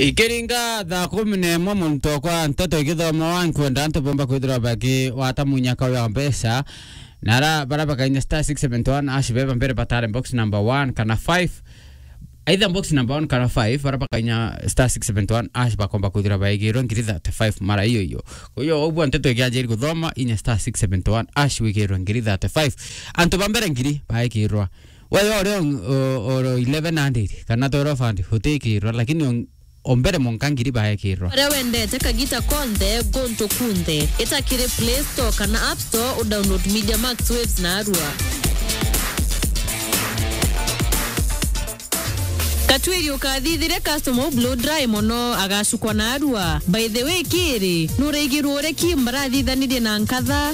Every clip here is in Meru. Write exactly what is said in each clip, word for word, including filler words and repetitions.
Ikiringa thaa kumi na imwe, muntu okwa nteto igithomawa, nkwenda antu bomba kwithirwa bakiwata munyaka uyu wa mbeca. Na ara bara bakainya star six seven one hash beba mbere batare box number one kana five. Either box number one kana five, bara bakainya star six seven one hash bakomba kwithirwa baigirwe ngiri thirty-five mara iyo iyo. Kwa hiyo, ubwa nteto ikianjiri guthoma, inya star six seven one hash wigirwe ngiri thirty-five. Antu ba mbere ngiri baigirwa. Wewe ore on-, o-, oro eleven hundred kana twelve hundred utikirwa, lakini on-, o mbere monka ngiri baekirwa. Uria wendete kagita konthe, guntu kunthe. Ita kiri Play Store kana App Store, u download Media Max Waves na arua. Katwiri ukathithire customer u blow dry mono, agacukwa na arua. By the way, kiri, nuraigirwo uria Kim barathithanirie na nkatha?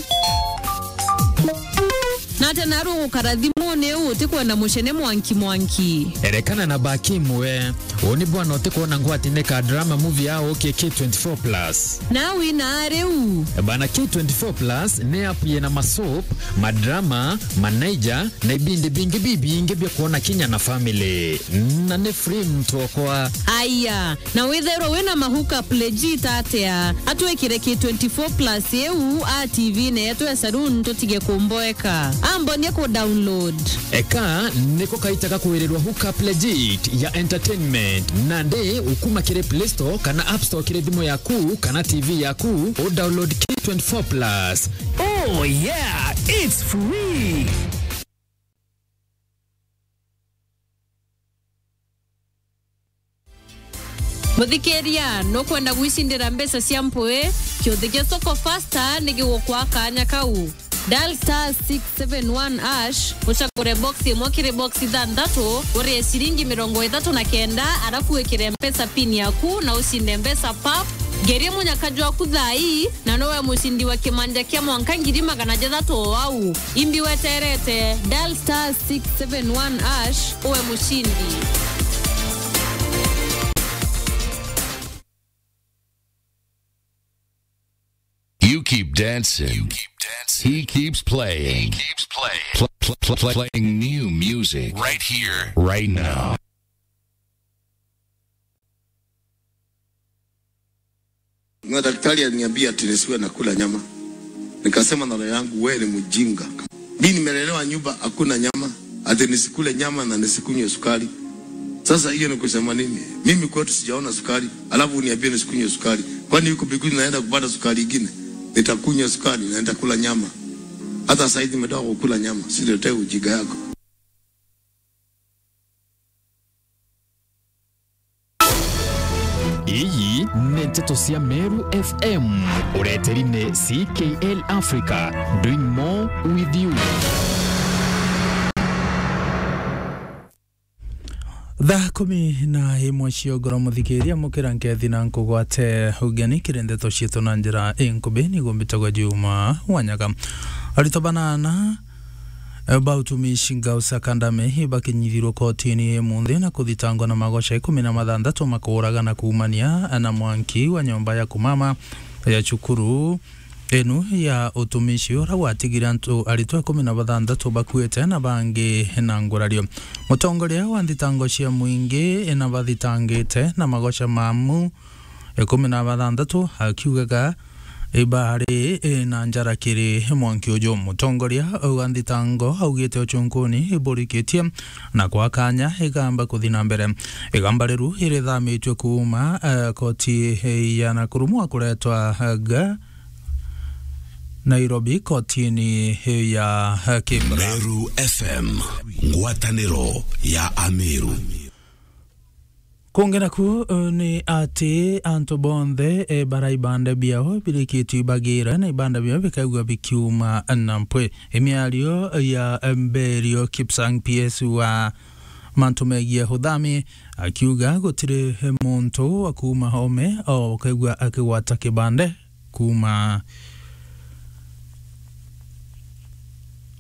Na ati naru gukara thimuni uu utikwenda mucene mwanki mwanki. Erekana na Bakim we. Uu ni bwana utikwona ngwatine ka drama movie ya uki K twenty-four plus. Na wina riu. Bana, K twenty-four plus ni app yina masoap, madrama, manaija, na ibindi bingi bibingi bia kwona kinya na family. Na ni free, muntu okwa. Aya, na withairwa wina ma hookup legit atia, atwikire K twenty-four plus iu a T V-ini yetu ya saloon, tutige kumboeka. Ambonie ku download. Eka niko kaita ga kwirirwa hookup legit ya entertainment. Nandi ukuma kiri Play Store kana App Store kiri thimu yaku kana T V yaku, u download K twenty-four plus. Oh yeah, it's free. Muthikiria, nukwenda gwicindira mbeca cia mpui? Kiuthi gia Soko Fasta ni gigukwa kanya kau. Dial star six seven one hash, ucagure box imwe kiri box ithanthatu, urie ciringi mirongo ithatu na kenda, arafu wikire mpesa pin yaku na ucinde mbeca pap. Ngerie munyaka jwaku thaa ii, na nowe mucindi wa kimanja kia mwanka ngiri magana jathatu o au. Imbi weterete, dial star six seven one hash, uwe mucindi. You keep dancing. You keep dancing. He keeps playing. He keeps playing. Pl-, pl-, pl-, playing new music right here, right now. Na daktari aliniambia ati nisiwe nakula nyama. Nikasema na roho yangu, "Wewe ni mjinga. Mimi nimelelewa nyumba hakuna nyama, ati nisikule nyama na nisikunywe sukari." Sasa hiyo ni kusema nini? Mimi kwetu sijaona sukari, alafu uniambie nisikunywe sukari. Kwani huko mbinguni naenda kupata sukari ingine? Nitakunywa sukari na nitakula nyama. Hata saizi nimetoka kukula nyama, sitetee ujinga yako. Iyi ni nteto cia Meru F M. Ureteri ni C K L Africa, doing more with you. Thaa kumi na imwe cia ugoro, muthikiria, mukira nkethi na nkugwate ugeni kiri ndeto cietu na njira inkubi. Niguo mbitagwa Juma Wanyaga. Arito banana ba utumishi Gausa Kandame bakinyithirwe kotini imunthi na kuthitangwa na magoca ikumi na mathanthatu ma kuuragana kuumania na mwanki wa nyomba ya kumama ya cukuru inu ya utumishi, uria gwatigire antu aritwa ikumi na bathanthatu bakuite na bangi na ngurario. Mutongoria wa nthitango cia mwingi na bathitangite na magoca mamu ikumi na bathanthatu, akiugaga ibari na njara kiri mwanki uju. Mutongoria wa nthitango augite ucunkuni iburikitie na kwa kanya igamba kuthi na mbere. Igamba riu irithamitue kuuma, eh, koti ya Nakuru mwa kuretwa, eh, ga Nairobi kotini ya, eh, Kibra. Meru F M, ngwataniro ya Ameru. Kungi naku, eh, ni ati antu bonthe, eh, bara ibande biao birikitwe ibagira na ibande biao bikaigua bikiuma na mpwi. Imiario ya Mberio Kipsang, P S wa mantu megie uthami, akiuga gutiri muntu wa kuuma ome o ukaigua akigwata kibande kuuma,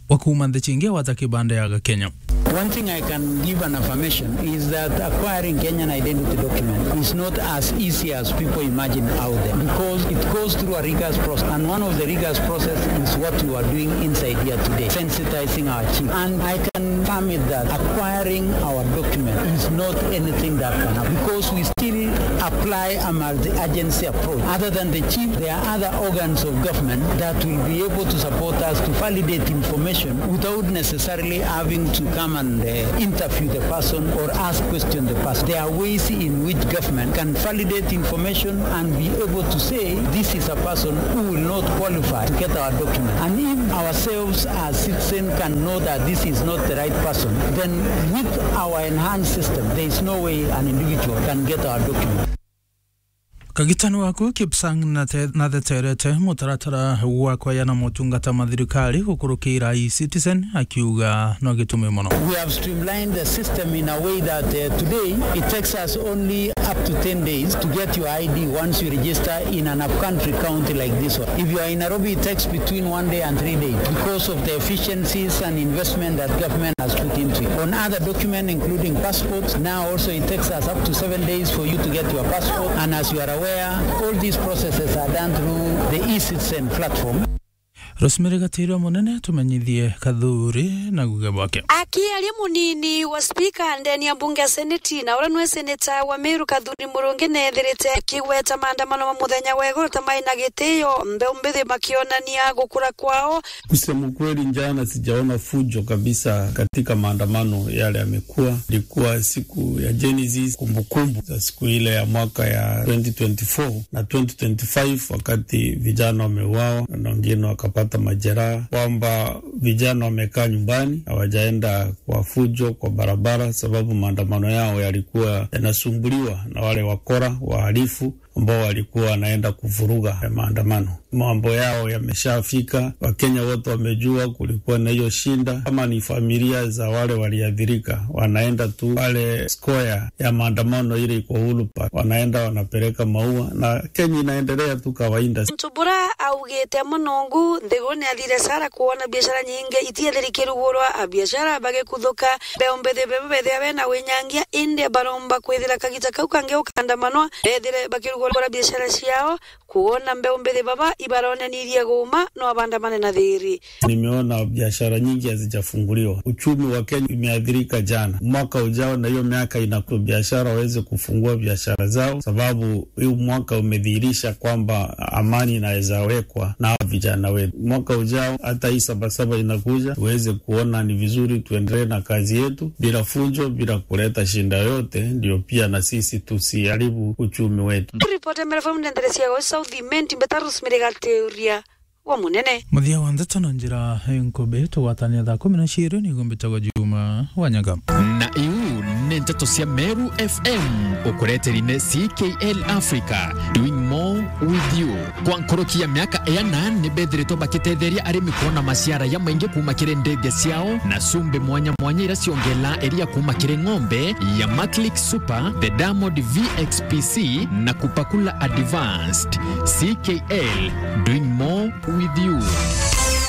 wa kuuma nthi cingi agwata kibande ya Gakenya. One thing I can give an affirmation is that acquiring Kenyan identity document is not as easy as people imagine out there, because it goes through a rigorous process, and one of the rigorous process is what you are doing inside here today, sensitizing our chief. And I can affirm it that acquiring our document is not anything that can happen, because we still apply a multi-agency approach. Other than the chief, there are other organs of government that will be able to support us to validate information without necessarily having to come and, uh, interview the person or ask question the person. There are ways in which government can validate information and be able to say this is a person who will not qualify to get our document. And if ourselves as citizens can know that this is not the right person, then with our enhanced system, there is no way an individual can get our document. Kagitani waku Kipsang nate-, natheterete mutaratara wa kwayana motungata ma thirikari gukurukira e-Citizen, akiuga no gitumi mono. We have streamlined the system in a way that, uh, today it takes us only up to ten days to get your I D once you register in an upcountry county like this one. If you are in Nairobi, it takes between one day and three days because of the efficiencies and investment that government has put into it. On other documents, including passports, now also it takes us up to seven days for you to get your passport. And as you are aware, all these processes are done through the e-Citizen platform. Rosemary Gatiirwa Munene, tumenyithie Kathuri na guge bwake. Akiaria munini wa spika ndeni ya mbunge ya seneti, na uria nwe seneta wa Meru Kathuri Murungi, neethirite akigweta maandamano ma muthenya wa iguru ta mai na gitio, mbeu mbithi makionania gukura kwao. Kusema ukweli, jana sijaona fujo kabisa katika maandamano yale yamekuwa. Ilikuwa siku ya Gen Z, kumbukumbu za siku ile ya mwaka ya twenty twenty-four na twenty twenty-five, wakati vijana wameuawa na wengine wakapata majeraha, kwamba vijana wamekaa nyumbani, hawajaenda kwa fujo kwa barabara, sababu maandamano yao yalikuwa yanasumbuliwa na wale wakora, wahalifu, ambao walikuwa wanaenda kuvuruga maandamano. Mambo yao yameshafika, Wakenya wote wamejua kulikuwa na hiyo shinda. Kama ni familia za wale waliathirika, wanaenda tu pale square ya maandamano ile iko Uhuru Park, wanaenda wanapeleka maua, na Kenya inaendelea tu kawaida. Muntu bura augite munungu nthigurune ya thibiacara, kuona biashara nyingi itiethiri kirugurwa, abiashara bagikuthuka, mbeu mbithi beba bethira bena winyangia, indi baromba kwithira kagita kau kangi ukandamanwa, bethire bakirugura biashara ciao, kuona mbeu mbithi baba ibaronanirie guuma, no abandamane na thiri. Nimeona biashara nyingi hazijafunguliwa. Uchumi wa Kenya imeathirika jana. Mwaka ujao na hiyo miaka inakuja, biashara waweze kufungua biashara zao, sababu huu mwaka umedhihirisha kwamba amani inaweza wekwa na hawa vijana wetu. Mwaka ujao, hata hii Sabasaba inakuja, tuweze kuona ni vizuri tuendelee na kazi yetu bila fujo, bila kuleta shinda yoyote, ndio pia na sisi tusiharibu uchumi wetu. Ripoti ya Meru F M ndenderecia gwa South Imenti, mbeta Rosemary Gatiuria wa Munene. Muthia wa ndeto na njira nkubi, tugwatania thaa kumi na ciiri, nigo mbitagwa Juma wa Nyaga. Na iu ni ndeto cia Meru F M, ukureteri ni C K L Africa, doing more with you. Kwa nkuruki ya miaka iana, ni bethiritwe bakitetheria arimi kuona maciara ya maingi kuuma kiri ndege ciao na cumbi mwanya mwanya iria ciongelaa iria kuuma kiri ng'ombe ya Maclick Super, the Diamond V X P C na Kupakula Advanced. C K L, doing more with you.